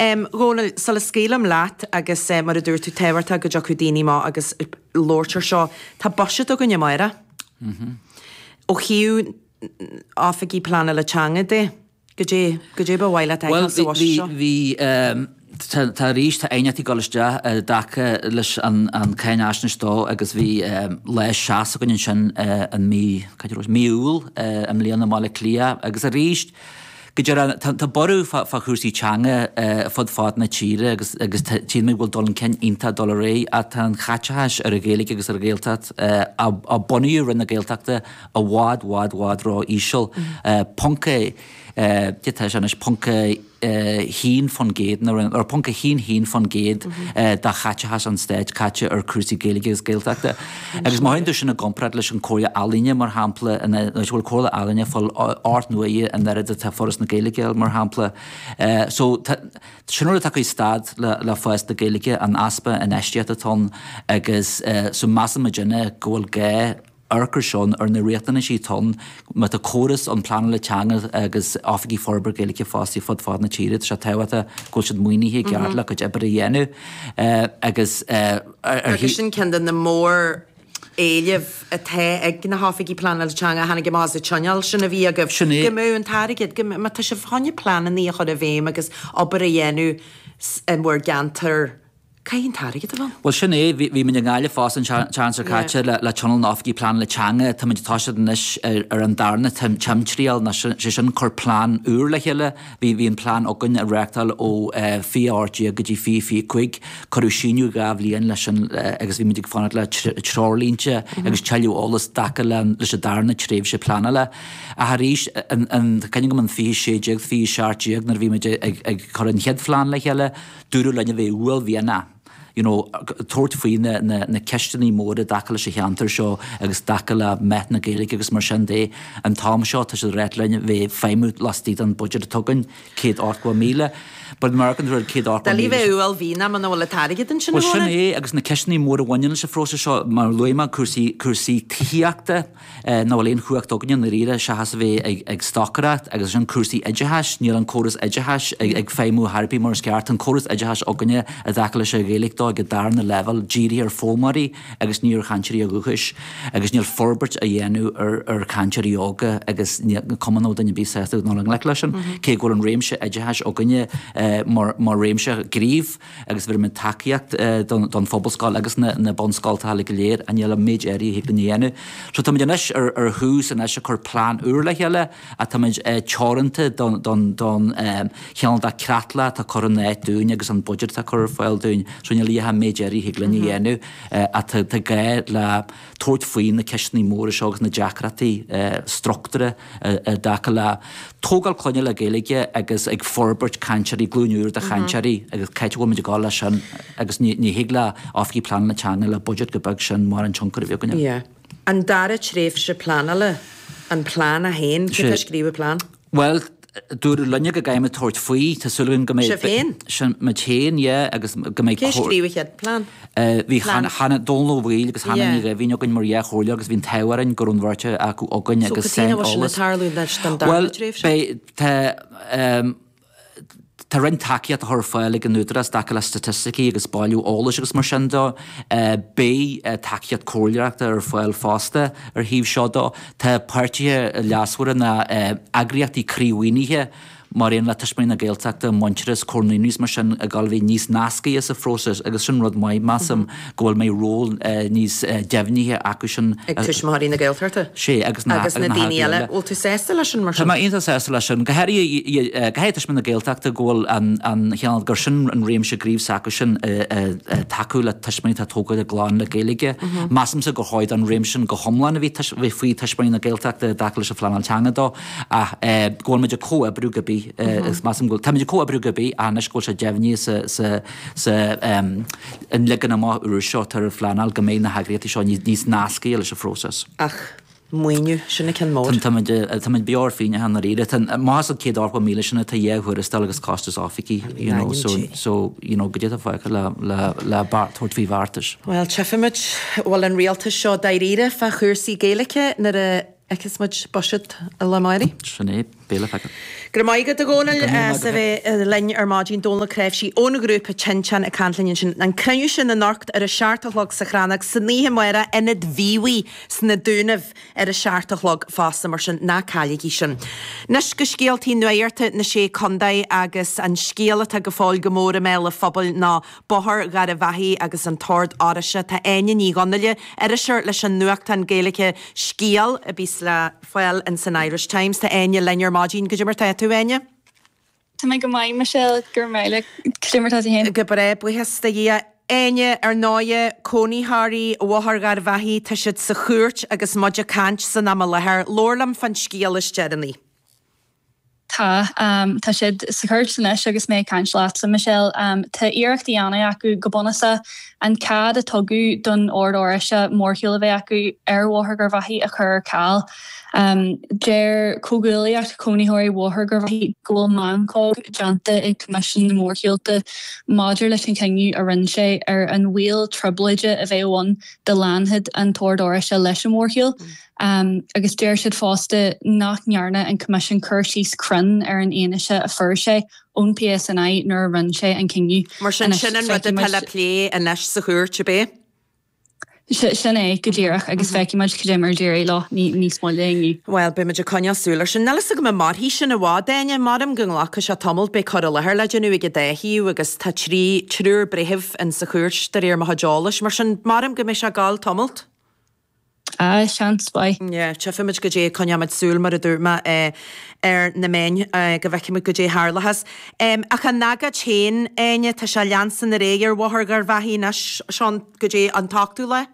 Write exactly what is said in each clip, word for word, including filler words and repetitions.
Um, Dhónaill, sula scaoilim leat agus uh, mar a dúirt tú tábhachtach go dtiocfadh daoine amach agus labhairt ar seo, tá buiséad againn amárach. Mm -hmm. Ó thaobh oifigí pleanála teanga de, goidé goidé ba mhaith leat Well, a fheiceáil sa bhí bhuiséad seo. bhí um, tá tá arís tá aighneachtaí ag dul isteach i dtaca leis an an cáinaisnéis dó agus bhí um, lá seas againn ansin uh, an mí cad é raibh sé? mí Iúil uh, i mbliana i mBaile Átha Cliath agus arís go deireadh tá tá borradh fá fá chúrsaí teanga uh, fud fad na tíre agus agus tá- tchíonn mé go bhfuil dul chun cinn iontach dul ar aghaidh ach tá an chaiteachas ar an Ghaeilge agus ar an Ghaeltacht uh, a, a bunaíodh Roinn na Gaeltachta i bhfad bhfad bhfad ró íseal uh, ponc uh, tá sé anois ponc haon faoin gcéad ar ponc a haon haon faoin gcéad de chaiteachas an stáit caite ar cúrsaí Gaeilge agus Gaeltachta. Agus má chuireann tú sin i gcomparáid leis an Comhairle Ealaíne mar shampla bhfuil Comhairle Ealaíne fáil ocht n-uaire an oiread atá Foras na Gaeilge mar shampla. So sin rud atá stad le le fás na Gaeilge an easpa infheistíochta atá ann agus so measann muidinne go bhfuil gá amharc seo ar na riachtanaisí atá ann má tá córas an pleanála teanga agus oifigí forbartha Gaeilge fostaithe fud fad na tíre, tá sé tábhachtach go bhfuil siad maoinithe ceart le cuid oibre a dhéanamh agus Agus sin ceann de na mór éilimh atá ag na hoifigí pleanála teanga tháinig amach as an tionól sin a bhí agaibh. Sin é. Go mbeadh an t-airgead, go má tá sibh chun pleananna a chur i bhfeidhm agus obair a dhéanamh in bhur gceantar Caithfidh an t-airgead a bheith ann? Well sin é bhí muid i nGaillimh fosta an tseachtain seo caite le le tionól na oifigí pleanála teanga tá muid tosaithe anois ar ar an darna timthriall ná sé sin cur plean úr le chéile bhí bhí an plean againn a reáchtáil ó fiche ocht déag go dtí fiche fiche cúig cuireadh síneadh dhá bhliain leis sin agus bhí muid ag fanacht le treoirlínte agus tuilleadh eolas dtaca le leis an darna tréimhse pleanála ach arís an an cuimhin liom an fiche sé déag fiche seacht déag nuair a bhí muid ag ag cur an chéad phlean le chéile dúradh linn a bheith uaillmhianach you know, tabhairt faoi na, na, na ceisteanna móra dtaca leis an cheantar seo agus dtaca le meath na Gaeilge agus mar sin de an t-am seo tá siad ag rá linn bheith feidhmiú laistigh den budget atá againn céad ochtó míle. But American rud céad ochtó Doiligh míle. bheith uaillmhianach muna bhfuil an t-airgead ansin Well sin é agus na ceisteanna móra a bhaineann leis an phróiseas seo mar luaigh mé cúrsaí cúrsaí tithíochta nach bhfuil aon chumhacht againne i ndáiríre seachas a bheith ag, ag stocaireacht agus sin cúrsaí oideachais, níl an córas oideachais ag, ag feidhmiú thar bith mar is ceart. An córas oideachais againne i dtaca leis an Ghaeilge dó ag an darna leibhéal dírithe ar foghlaimeoirí agus ní ar chainteoirí dúchais agus níl forbairt a dhéanamh ar, ar chainteoirí óga agus cuma nó duine bí sásta nó an leis sin, cé go bhfuil an réimse oideachais againne eh, mar, mar réimse gnímh agus bhí mé tacaíocht eh, don, don phobalscoil agus na, na bunscoileanna go léir an níl an méid éirí thig linn a dhéanamh. So tá muid anois ar, ar thús anois a chur plean úr le chéile a tá muid eh, teoranta don, don, don um, cheann de creatlach atá curtha in áit dúinn agus an budget atá curtha ar fáil dúinn, so níl an méid éirí thig linn a dhéanamh eh, a tá gá le tabhairt faoi na ceisteanna móra seo agus na deacrachtaí eh, struchtúrtha i dtaca le tógáil clainne le Gaeilge agus ag forbairt cainteoirí glúin úr de chainteoirí agus cé bhfuil muid ag gabháil leis sin agus ní ní thig le oifigí pleanála teanga le budget go beag sin mar an tionchar a bhí againne. Yeah. An dara tréimhse pleanála, an plean a haon, cé tá scríobh plean? Well, dúradh linne go gcaithfimid tabhairt faoi tá súil agam go mbeidh Sibh féin? Sin muid féin, yeah, agus go mbeidh Cé scríobh an chéad plean? Uh, bhí Plean. Hannah Dónal Ó Baoill agus Hannah Yeah. Ní Ghaibhín againn mar dhá chomhairleoir agus bhí an t-ádh orainn go raibh an bheirt acu againn So agus cad é sin eolas. ag tarlú leis don dara Well, tréimhse? beidh tá um, Tá roinnt tacaíocht a chur ar fáil ag an údarás dtaca le staitisticí agus bailiú eolais agus mar sin dó, uh, beidh uh, tacaíocht comhairleoireachta ar fáil fosta ar thaobh seo dó. Tá páirtithe leasmhara na uh, eagraíochtaí croímhaoinithe mar aon le Tuismitheoirí na Gaeltachta Muintearas Comhar na mar sin ag gabháil a bheith níos nascaithe sa phróiseas agus sin rud maith measaim go bhfuil méid ról uh, níos uh, deimhnithe acu sin Ag tuismitheoirí na Gaeltachta? sé agus na Agus na daoine eile, bhfuil tú sásta leis sin mar Tá sin? mé iontach sásta leis sin go háirithe go háirithe na Gaeltachta go bhfuil an an cheann gur sin an réimse gnímh s'acu sin tacú le tuismitheoirí atá tógáil a gclann le Gaeilge. Measaimse gur chóir an réimse sin go hiomlán a bhí bhí faoi tuismitheoirí na Gaeltachta dtaca leis an phleanáil teanga dó ach go bhfuil muid ag comhoibriú go bí is measaim go tá muid ag comhoibriú go bí anois go bhfuil sé deimhnithe sa sa sa an leagan amach úr seo tar ar phleanáil go mbeidh na heagraíochtaí seo níos níos nascaithe leis an phróiseas. Ach maoiniú sin an ceann mór. Tá muid beo ar phingin i ndáiríre más an céad ochtó míle sin tá dhá thuarastal agus costas oifigí you know, so, so you know, go dtí fáice le le le tabhairt faoi bheartais. Well, tchífimid bhfuil an rialtas seo dáiríre fá chúrsaí Gaeilge nuair a fheicfeas muid buiséad amárach. Sin é. Beidh le feiceáil. Go raibh maith agat a Dhónaill as a bheith linn ar maidin. Dónal Ó Cnáimhsí ón ghrúpa Tinteán ag caint linn ansin. An cruinniú sin anocht ar a seacht a chlog sa Chrannóg, san oíche amárach Ionad Mhíobhaigh sna Dúnaibh ar a seacht a chlog fosta, mar sin ná cailligí sin. Anois go scéaltaí nuachta na Sé Contae agus an scéal atá go fóill go mór i mbéal an phobail ná Bóthar Gharbhachaidh agus an tOrd Oráisteach. Tá Áine Ní Dhonnaile, iriseoir leis an nuachtán Gaeilge Scéal, a bíos le fáil in san Irish Times. Tá Áine linn ar maidin. Goidé mar tá tú, Áine? Tá mé go maith, Michelle, go raibh míle. Cad é mar tá tú féin? Go breá, buíochas do Dhia. Áine, ar ndóighe, cónaitheoirí Bhóthar Gharbhachaidh, tá siad sa chúirt agus muid ag caint san am i láthair. Labhair liom fán scéal is deireanaí. Tá. Tá siad sa chúirt anois agus mé ag caint leatsa, Michelle. Tá iarracht á dhéanamh acu, go bunúsach, an cead a tugadh don Ord Oráisteach mórshiúl a bheith acu ar Bhóthar Gharbhachaidh a chur ar ceal. Deir Comhghuaillíocht Chónaitheoirí Bhóthar Gharbhachaidh go bhfuil meancóg déanta ag Coimisiún na Mórshiúlta maidir leis an chinneadh a rinne sé ar an bhaol trioblóide a bheadh ann dá leanfadh an tOrd Oráisteach leis an mhórshiúl. Agus deir siad fosta nach ndearna an Coimisiún cur síos cruinn ar an fhianaise a fuair sé ón PSNI nuair a rinne sé an cinneadh. Mar sin, sin an rud atá le plé anois sa chúirt, ab é? Sin é go díreach agus feicfidh muid cad é mar a d'éirigh leo níos moille inniu. Bhuel, beidh muid ag coinneáil súil air sin. Níl fhios agam an mairfidh sin i bhfad, Áine. Maram go nglacfaidh sé tamall, beidh cur i láthair le déanamh ag an dá thaobh agus tá trí, triúr breitheamh in sa chúirt de réir mo chuid eolais. Mar sin, maram go mbeidh sé ag gabháil tamalt. Ah, seans mhaith. Yeah, tchífimid goidé, coinneoimid súil, mar a dúirt mé, ar na meáin go bhfeicfimid goidé a tharlóchas. Ach an agóid féin, Áine, tá sé ag leanstan ar aghaidh ar Bhóthar Gharbhachaidh anois, seo goidé an t-ochtú lá?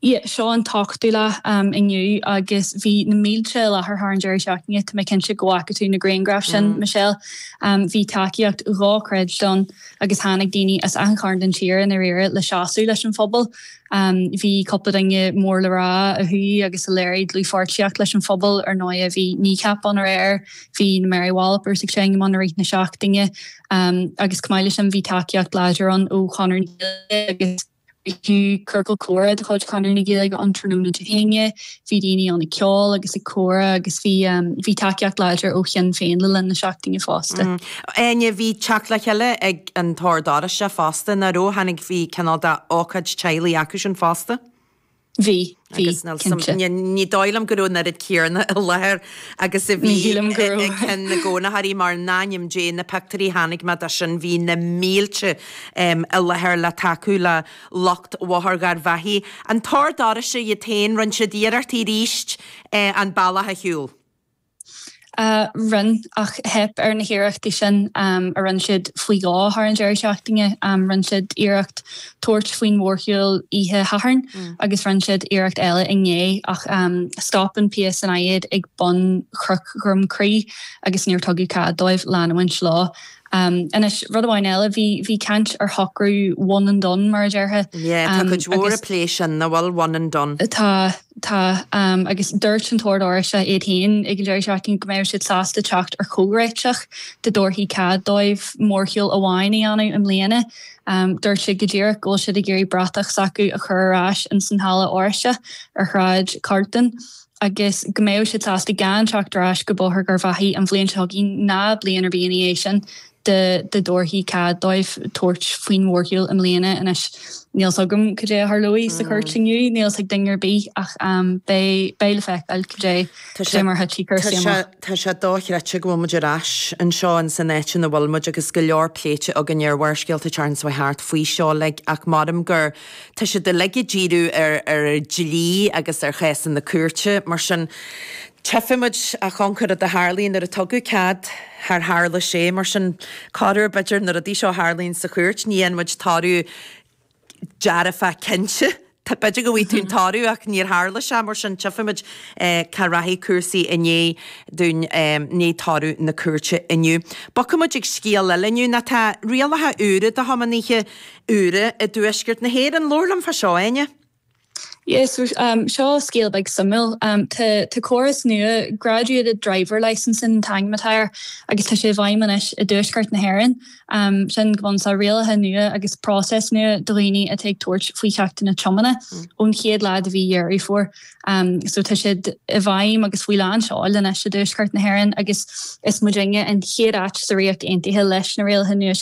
Yeah, seo an t-ochtú lá inniu agus bhí na mílte i láthair thar an deireadh seachtaine, tá mé cinnte go bhfaca tú na grianghraif sin, Michelle. Bhí tacaíocht dhochreidte ann agus tháinig daoine as achan chearn den tír i ndáiríre le seasamh leis an phobal. Bhí cúpla duine mór le rá a chuaigh agus a léirigh dlúthpháirtíocht leis an phobal. Ar ndóighe bhí Kneecap ann aréir, bhí na Mary Wallopers ag seinm ann i rith na seachtaine agus chomh maith leis sin bhí tacaíocht láidir ann ó Chonradh na Gaeilge agus Bhí ciorcal comhrá de chuid Chonradh na Gaeilge ann tráthnóna Dé hAoine, bhí daoine ann ag ceol agus ag comhrá agus bhí bhí tacaíocht láidir ó Shinn Féin le linn na seachtaine fosta. Áine, bhí teacht le chéile ag an tOrd Oráisteach fosta, nach raibh? Tháinig, bhí cineál de ócáid teaghlaigh acu sin fosta? Bhí, bhí, cinnte. Ní dóigh liom go raibh an oiread céanna i láthair agus a bhí ag ceann na gcónaitheoirí mar in ainm Dé na pictiúirí a chonaic mé de sin bhí na mílte i láthair le tacú le lucht Bhóthar Gharbhachaidh. An tOrd Oráisteach iad féin, rinne siad iarrachtaí arís an bealach a shiúl. Rinne, ach theip ar na hiarrachtaí sin a rinne siad faoi dhó thar an deireadh seachtaine. Rinne siad iarracht tabhairt faoin mhórshiúl oíche Shathairn agus rinne siad iarracht eile inné ach stop an PSNI iad ag bun Chnoc Dhroim Crí agus níor tugadh cead dóibh leanúint leo. Anois, rud amháin eile, bhí bhí caint ar shocrú one and done, mar a déarfá. Yeah, tá cuid mhór ag plé sin, nach bhfuil, one and done. Tá, tá. Agus dúirt an tOrd Oráisteach iad féin ag an deireadh seachtaine go mbeadh siad sásta teacht ar chomhréiteach dá dtabharfaí cead dóibh mórshiúl amháin a dhéanamh i mbliana. Dúirt siad go díreach go bhfuil siad ag iarraidh bratach s'acu a chur ar ais ins an halla Oráisteach ar Shráid Carlton. agus go mbeadh siad sásta gan teacht ar ais go Bóthar Gharbhachaidh an bhliain seo chugainn ná bliain ar bith ina dhiaidh sin dá dtabharfaí cead dóibh tabhairt faoin mhórshiúl i mbliana. Anois, níl 's agam cad é a tharlóidh sa chúirt inniu, níl 's ag duine ar bith ach beidh beidh le feiceáil cad é cad é mar a thitfidh cúrsaí amach. Tá sé dochreidte go bhfuil muid ar ais anseo in san áit ina bhfuil muid agus go leor pléite againn ar Bharrscéalta an tseachtain seo thart faoi seo like ach maram gur Tá siad uilig ag díriú ar ar dlí agus ar chásanna cúirte, mar sin tchífimid a Chonchúir rud a tharlaíonn nuair a tugadh cead, char tharla sé, mar sin corruair b'fhéidir na rudaí seo a tharlaíonn sa chúirt, ní fhaigheann muid toradh dearfach cinnte. B'fhéidir go bhfaighidh tú an toradh ach níor tharla sé, mar sin tchífimid cá rachaidh cúrsaí i ndiaidh dúinn, i ndiaidh toradh na cúirte inniu. Bogfaidh muid ag scéal eile inniu, ná tá rialacha úra do thiománaithe úra i dtuaisceart na hÉireann. Labhair liom fá seo, Áine. Yes, so, um, seo scéal beag suimiúil um, tá tá córas nua graduated driver licensing an t-ainm atá air agus tá sé i bhfeidhm anois i dtuaisceart na hÉireann. Um, sin go bhfuil sa rialacha nua agus process nua do dhaoine atá ag tabhairt faoi cheachtanna tiomána mm. ón chéad lá de mhí Dheireadh Fómhair. Um, so tá siad i bhfeidhm agus faoi lán seoil anois i dtuaisceart na hÉireann agus is muidinne an chéad áit sa Ríocht Aontaithe leis na rialacha nua